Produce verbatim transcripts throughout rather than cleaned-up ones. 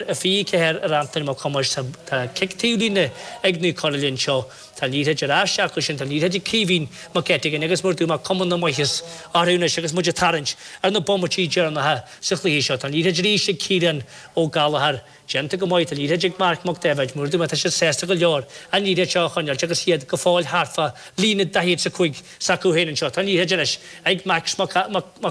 a fiche ceathair ar Antaine Mac Thomáis. Tá cic taobhlíne ag Naomh Conaill anseo. Tá an liathróid ar ais acu sin. Tá an liathróid ag Caoimhín Mac Eitigeann agus mar a dúirt mé cuma na maitheas orthu anois agus muid ag tarraingt ar na bomaití deireanacha sa chluiche seo. Tá an liathróid arís ag Ciarán Ó Gallchóir. Déanta go maith, tá an liathróid ag Marc Mac Daibhéid. Mar a dúirt mé, tá siad sásta go leor an liathróid seo a choinneáilt agus iad go fóill thart fá líne daichead is a cúig s'acu féin anseo. Tá an liathróid anois ag Max Mac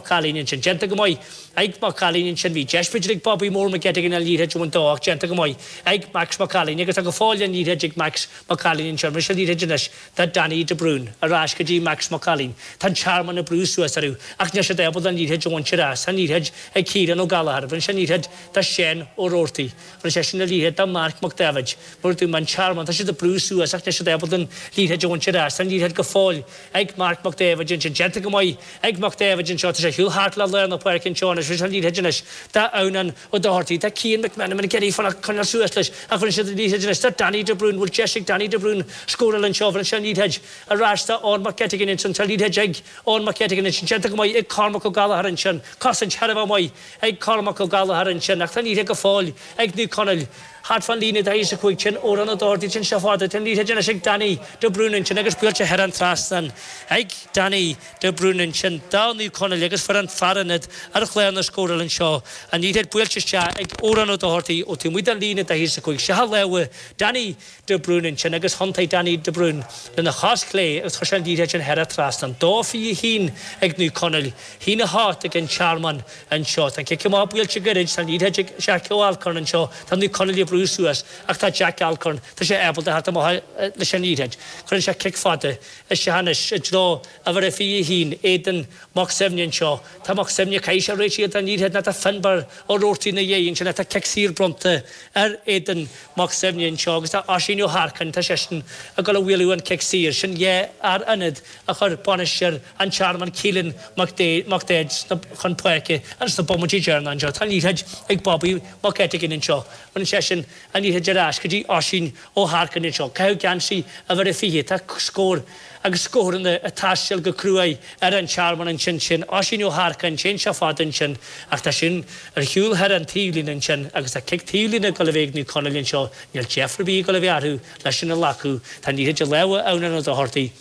Ailín ansin. Déanta go maith ag Mac Ailín ansin. Bhí deis b'fhéidir ag Bobby Mór Mac Eitigeann an liathróid a bhaint dó ach déanta go maith ag Max Mac Ailín agus tá go fóill an liathróid ag Max Mac Ailín anseo. Rinne sé an liathróid anois do Danny de Brún. Ar ais go dtí Max Mac Ailín. Tá an Tearmann ag brú suas orthu ach níl siad ábalta an liathróid a bhaint ar ais. Tá an liathróid ag Ciarán Ó Gallchóir. Rinne sé an liathróid do Shane Ó Roarty. Rinne seisean an liathróid do Marc Mac Daibhéid. Mar a dúirt mé, an Tearmann, tá siad ag brú suas ach níl siad ábalta an liathróid a bhaint ar ais. Tá an liathróid go fóill ag Marc Mac Daibhéid ansin. Déanta go maith ag Mac Daibhéid anseo. Tá sé ar shiúl thart le lár na páirce anseo anois. Rinne sé an liathróid anois do Adhnán Ó Dochartaigh. Tá Cian McMenamin ag iarraidh fanacht coinneáil suas leis ach rinne siad an liathróid anois do Danny de Brún. Bhfuil deis ag Danny de Brún scóráil anseo? Rinne sé an liathróid ar ais do Eoin Mac Eitigeann ansin. Tá an liathróid ag Eoin Mac Eitigeann ansin. Déanta go maith ag Cormac Ó Gallchóir ansin. Cosaint thar a bheith maith ag Cormac Ó Gallchóir ansin ach tá an liathróid go fóill ag Naomh Conaill thart fán líne daichead is a cúig. Sin Odhrán Ó Dochartaigh. Téann sé fada. Tá an liathróid anois ag Danny de Brún ansin agus buailte thar an trasnán ag Danny de Brún ansin do Naomh Conaill agus fuair an fear ionaid ar chlár na scórála anseo an liathróid buailte isteach ag Odhrán Ó Dochartaigh ó taobh amuigh den líne daichead is a cúig. Isteach i lámha Danny de Brún ansin agus thiontaigh Danny de Brún lena chos chlé agus chuir sé an liathróid sin thar an trasnán. Dó fiche a haon ag Naomh Conaill, haon a hocht ag an Tearmann anseo. Tá an cic amach buailte gairid, tá an liathróid ag Jack Ó Alcorn anseo. Tá Naomh Conaill ag brú suas ach tá Jack Alcorn, tá sé ábalta theacht amach leis an liathróid. Cuireann sé cic fada isteach anois i dtreo uimhir a fiche a haon, Aidan Mac Suibhne anseo. Tá Mac Suibhne, caithfidh sé réiteach don liathróid nó tá Finbar Ó Roarty ina dhiaidh ansin. Tá cic saor bronnta ar Aidan Mac Suibhne anseo agus tá Oisín Ó hEarcáin, tá seisean ag dul a bhualadh an cic saor. Sin dhá fhear ionaid a chuir bainisteoir an Tearmainn Keelan Mac Daid chun páirce ins na bomaití deireanacha anseo. Tá an liathróid ag Bobby Mac Eitigeann anseo. Baineann seisean an liathróid ar ais go dtí Oisín Ó hEarcáin anseo. Caitheadh geansaí uimhir a fiche. Tá scór agus scóranna ag taisteal go cruaidh ar an Tearmann ansin. Sin Oisín Ó hEarcáin, téann sé fada ansin ach tá sin ar shiúl thar an taobhlíne ansin agus tá cic taobhlíne ag dul a bheith ag Naomh Conaill anseo. Níl deifir ar bith ag dul a bheith orthu leis sin a ghlacadh. Tá an liathróid i lámha Adhnáin Ó Dochartaigh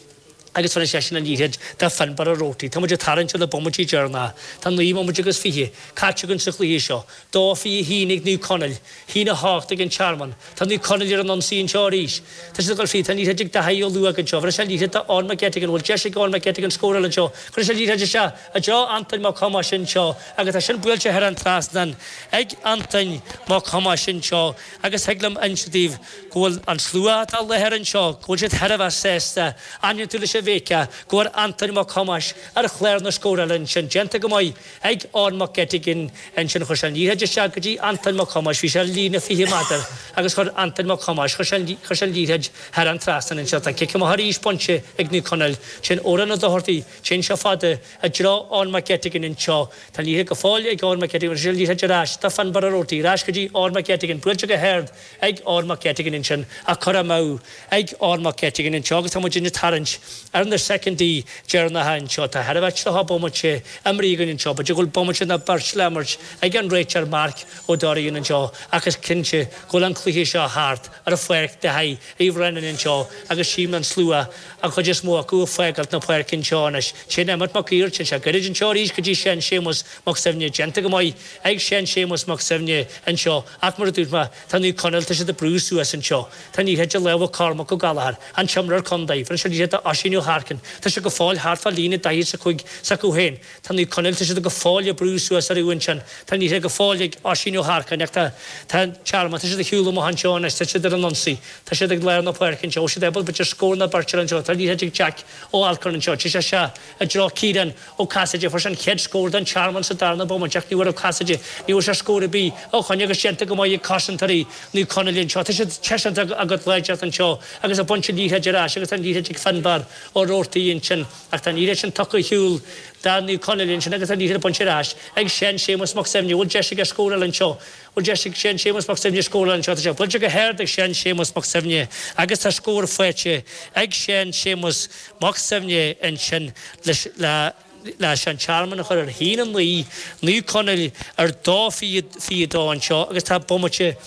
agus bhronn seisean an liathróid do Finbar Ó Roarty. Tá muid ag tarraingt ar na bomaití deireanacha. Tá naoi mbomaite agus fiche caite againn sa chluiche seo. Dó fiche a haon ag Naomh Conaill, haon a hocht ag an Tearmann. Tá Naomh Conaill ar an ionsaí anseo arís. Tá siad ag dul fríd. Tá an liathróid ag Daithí Ó Luaig anseo. Bhronn sé an liathróid do Eoin McGettigan. Bhfuil deis ag Eoin McGettigan scóráil anseo? Cuireann sé an liathróid isteach i dtreo Antoin Mac Thomáis anseo agus tá sin buailte thar an trasnán ag Antoin Mac Thomáis anseo agus thig liom inse daoibh go bhfuil an slua atá i láthair anseo, go bhfuil siad thar a bheith sásta, ainneoin leis an bhfeiceáil go bhfuair Antoin Mac Thomáis ar chlár na scórála ansin. Déanta go maith ag Eoin McGettigan ansin. Chuir sé an liathróid isteach go dtí Antoin Mac Thomáis. Bhí sé ar líne fiche méadar agus chuir Antoin Mac Thomáis, chuir sé an, chuir sé an liathróid thar an trasnán anseo. Tá cic amach arís bainte ag Naomh Conaill. Sin Odhrán Ó Dochartaigh. Téann sé fada i dtreo Eoin McGettigan anseo. Tá an liathróid go fóill ag Eoin McGettigan. Chuir sé an liathróid ar ais do Finbar Ó Roarty. Ar ais go dtí Eoin McGettigan. Buailte go hard ag Eoin McGettigan ansin ach curtha amú ag Eoin McGettigan anseo agus tá muid ag tarraingt ar na soicindí deireanacha anseo. Tá thar a bheith tríocha bomaite imeartha againn anseo. B'fhéidir go bhfuil bomaite nó beirt le imirt ag an réiteoir Mark Ó Dorrian anseo ach is cinnte go bhfuil an cluiche seo thart ar pháirc Daithí Uí Bhraonáin anseo agus tchím an slua, an chuid is mó acu ag fágáilt na páirce anseo anois. Téann Emmet Mac Uidhir, téann sé gairid anseo arís go dtí Seán Séamus Mac Suibhne. Déanta go maith ag Seán Séamus Mac Suibhne anseo ach mar a dúirt mé, tá Naomh Conaill, tá siad ag brú suas anseo. Tá an liathróid i lámha Cormac Ó Gallchóir, an t-imreoir contae. Bhronn sé an liathróid d'Oisín Ó hEarcáin. Tá sé go fóill thart fá líne daichead is a cúig s'acu féin. Tá Naomh Conaill, tá siad go fóill ag brú suas orthu ansin. Tá an liathróid go fóill ag Oisín Ó hEarcáin ach tá tá an Tearmann, tá siad ag shiúl amach anseo anois, tá siad ar an ionsaí. Tá siad ag lár na páirce anseo. Bhfuil siad ábalta b'fhéidir scór nó beirt a fháil anseo. Tá an liathróid ag Jack Ó Alcorn anseo. Téann sé isteach i dtreo Ciarán Ó Casaide. Fuair sé an chéad scór don Tearmann sa darna bomaite ach ní bhfuair Ó Casaide, ní bhfuair sé scór ar bith ó shoin agus déanta go maith ag cosantóirí Naomh Conaill anseo. Tá siad tar éis a gcuid láidreacht anseo agus ag baint an liathróid ar ais agus tá an liathróid ag Finbar Ó Roarty ansin ach tá an liathróid sin tugtha ar shiúl do Naomh Conaill ansin agus tá an liathróid bainte ar ais ag Seán Séamus Mac Suibhne. Bhfuil deis aige scóráil anseo? Bhfuil deis ag Seán Séamus Mac Suibhne scóráil anseo? Tá sé buailte go hard ag Seán Séamus Mac Suibhne agus tá scór faighte ag Seán Séamus Mac Suibhne ansin leis le leis an Tearmann a chur ar haon a naoi, Naomh Conaill ar dó fiche fiche dó anseo agus tá bomaite